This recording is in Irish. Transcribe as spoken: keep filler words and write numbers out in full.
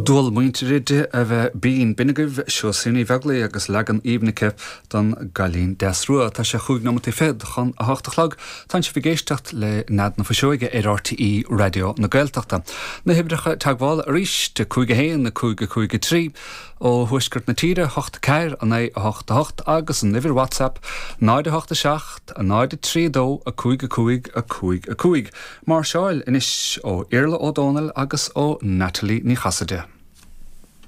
Dual muintire di a bheith binn b'in agaibh Seosaimh Ní Bheaglaoich agus leagan aoibhinn aici don gCailín Deas Rua tá sé chúig nóiméad fichead chun a hocht a chlog Tá sibh ag éisteacht le Nead na Fuiseoige ar RTÉ Raidió na Gaeltachta. Na huimhreacha teagmhála arís de cúig a haon a cúig a cúig a trí ó thuaisceart na tíre hocht ceathair a naoi a hocht a hocht agus an uimhir WhatsApp náid a hocht a seacht a náid a trí dó a cúig a cúig a cúig a cúig. Máirseáil anois ó Iarla Ó Dónaill agus ó Natalie Ní Chasaide.